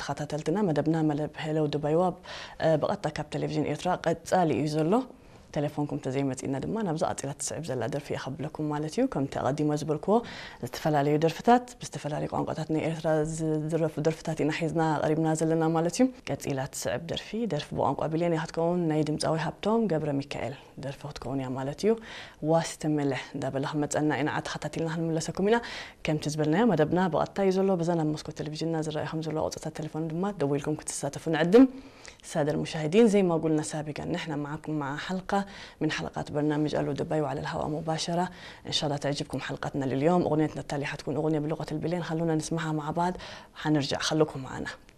ተኸታተልትና፣ መደብና መደብ ሄሎ ዱባይዋ፣ እ፣ ብቐጥታ ካብ ቴሌቪዥን ኤርትራ ቀጻሊ እዩ ዘሎ። ቴሌፎንኩም ተዘይመጺእና ድማ ናብዛ ቀጺላ ትስዕብ ዘላ ደርፊ እየ ከብለኩም ማለት እዩ። ከምቲ ኣቐዲሞ ዝበልክዎ፣ ዝተፈላለዩ ደርፍታት ብዝተፈላለዩ ቋንቋታት ናይ ኤርትራ ዝድረፉ ደርፍታት ኢና ሒዝና ቀሪብና ዘለና ማለት እዩ። ቀጺላ ትስዕብ ደርፊ፣ ደርፊ ብቋንቋ ቢሌን እያ ክትከውን፣ ናይ ድምጻዊ ሃብቶም ገብረ ሚካኤል ደርፊ ክትከውን እያ ማለት እዩ። ዋስ ትምልሕ እንዳበለ ክመጸና ኢና፣ ተኸታቲልና ክንምለሰኩም ኢና። ከምቲ ዝበልናዮ መደብና ብቐጥታ እዩ ዘሎ። በዛ ናብ መስኮት ቴሌቪዥንና ዝረኣዩ ከም ዘለዉ ቁጽርታት ቴሌፎን ድማ ደዊልኩም ክትሳተፉ ንዕድም። السادة المشاهدين، زي ما قلنا سابقا، نحن معكم مع حلقة من حلقات برنامج ألو دبي وعلى الهواء مباشرة. إن شاء الله تعجبكم حلقتنا لليوم. أغنيتنا التالية حتكون أغنية بلغة البلين، خلونا نسمعها مع بعض، حنرجع، خلوكم معنا.